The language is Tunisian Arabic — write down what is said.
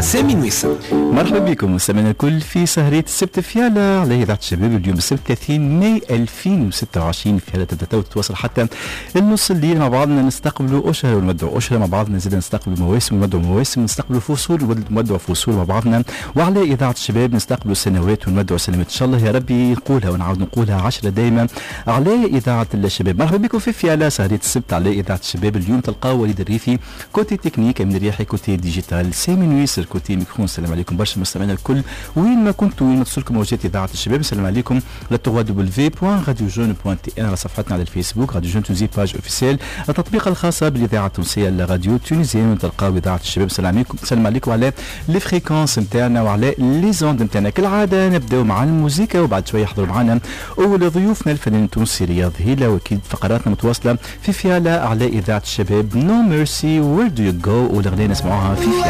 سامي نويسر. مرحبا بكم مستمعينا الكل في سهرية السبت فيالا على إذاعة الشباب. اليوم السبت 30 ماي 2026، فيالا تبدا تتواصل حتى النص الليل. مع بعضنا نستقبلوا أشهر ونودعوا أشهر، مع بعضنا زاد نستقبلوا مواسم ونودعوا مواسم، نستقبلوا فصول ونودعوا فصول مع بعضنا، وعلى إذاعة الشباب نستقبلوا سنوات ونودعوا سنوات. إن شاء الله يا ربي نقولها ونعاود نقولها 10 دايما على إذاعة الشباب. مرحبا بكم في فيالا سهرية السبت على إذاعة الشباب. اليوم تلقاو وليد الريفي côté technique، أمين الرياحي côté digital، سامي نويسر côté micro. السلام عليكم برشا مستمعينا الكل وين ما كنتوا، وين ما توصلكم موجات اذاعة الشباب. السلام عليكم على www.radiojeune.tn، على صفحتنا على الفيسبوك Radio Jeune Tunisie page officielle، التطبيق الخاصة بالاذاعه التونسية la radio tunisienne تلقاو اذاعة الشباب. السلام عليكم، السلام عليكم على les fréquences نتاعنا وعلى les ondes نتاعنا. كالعادة نبداو مع الموسيقى وبعد شوية يحضروا معنا اول ضيوفنا الفنان التونسي رياض هيلا، واكيد فقراتنا متواصلة في فيالا على اذاعة الشباب. No Mercy، Where Do You Go، والاغنية نسمعوها في فيالا.